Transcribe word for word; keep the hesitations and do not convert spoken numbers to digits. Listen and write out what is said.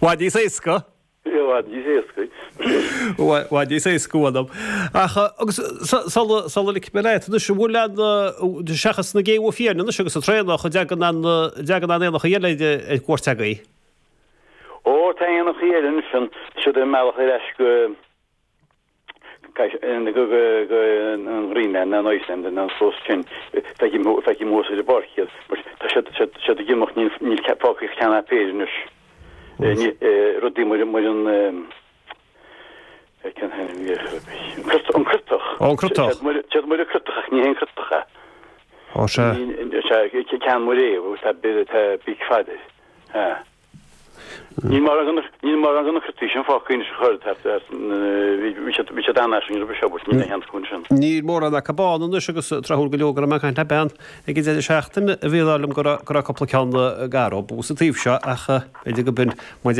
Bhfad níos éasca. I bhfad níos éasca. Bhfad níos éasca uaim. Ach agus sula sula ligfidh mé leat anois an bhfuil aon seachas na géabha fiáine anois agus an traonach an dtagann aon dtagann aon éanacha eile ar cuairt agaibh? Ó tá éanacha eile anois an siad ar a mbealach ar ais go go go an Ghraonlainn nó an Iceland nó an clós sin feicim feicim thuas ar an bpáirc iad but tá siad siad siad ag imeacht níl níl fágtha ach ceann ná péire anois. Rudaí mar mar an cén t-ainm a bhí air an crotach. Ó an crotach. Siad mar an crotach ach ní hé an crotach é. Ó sea. Sea ceann mar é tá tá bíc fada air. Sea. Níl mórán de níl mórán de na crotaigh sin fágtha anois a chur thart bhí siad bhí siad an-fhairsing roimhe seo but níl aon sheans acu ansin. Níl mórán acu ann anois agus tráthúil go leor go raibh mé ag caint le bean ag an deireadh seachtaine a bhí ag rá liom go raibh go raibh cúpla ceann garbh sa taobh seo ach b'fhéidir go b'in muid